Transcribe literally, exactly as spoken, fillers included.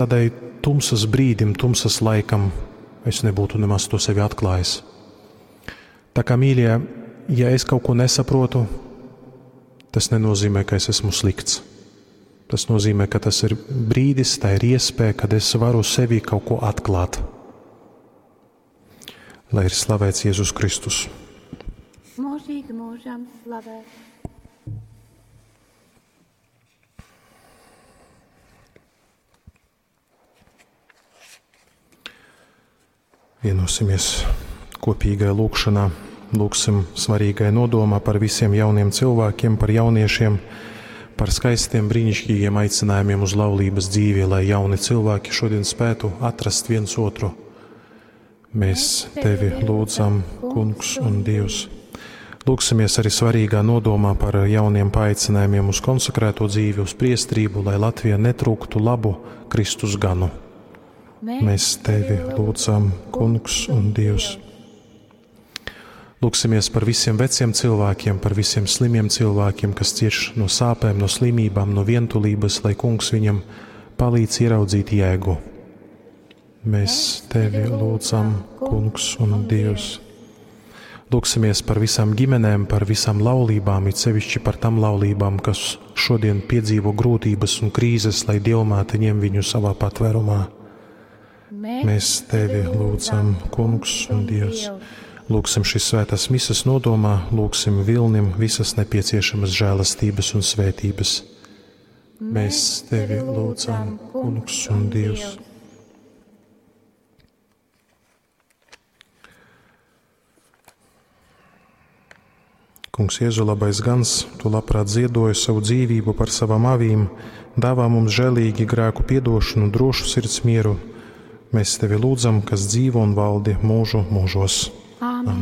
Tādai tumsas brīdim, tumsas laikam es nebūtu nemaz to sevi atklājis. Tā kā, mīļie, ja es kaut ko nesaprotu, tas nenozīmē, ka es esmu slikts. Tas nozīmē, ka tas ir brīdis, tā ir iespēja, kad es varu sevi kaut ko atklāt. Lai ir slavēts Jēzus Kristus. Mūžīgi mūžam slavēts. Vienosimies kopīgai lūgšanā, lūgsim svarīgai nodomā par visiem jauniem cilvēkiem, par jauniešiem, par skaistiem, brīnišķīgiem aicinājumiem uz laulības dzīvi, lai jauni cilvēki šodien spētu atrast viens otru. Mēs tevi lūdzam, Kungs un Dievs. Lūgsimies arī svarīgā nodomā par jauniem paaicinājumiem uz konsekrēto dzīvi, uz priestrību, lai Latvija netrūktu labu Kristus ganu. Mēs tevi lūdzam, Kungs un Dievs. Lūgsimies par visiem veciem cilvēkiem, par visiem slimiem cilvēkiem, kas cieš no sāpēm, no slimībām, no vientulības, lai Kungs viņam palīdz ieraudzīt jēgu. Mēs tevi lūdzam, Kungs un Dievs. Lūgsimies par visām ģimenēm, par visām laulībām, it sevišķi par tām laulībām, kas šodien piedzīvo grūtības un krīzes, lai Dievmāte ņem viņu savā patvērumā. Mēs tevi lūdzam, Kungs un Dievs. Lūgsim šīs svētās mises nodomā, lūgsim Vilnim visas nepieciešamas žēlastības un svētības. Mēs tevi lūdzam, Kungs un Dievs. Kungs Jēzu labais gans, tu labprāt ziedoji savu dzīvību par savām avīm, dāvā mums žēlīgi grēku piedošanu, drošu sirds mieru. Mēs tevi lūdzam, kas dzīvo un valdi mūžu mūžos. Āmen.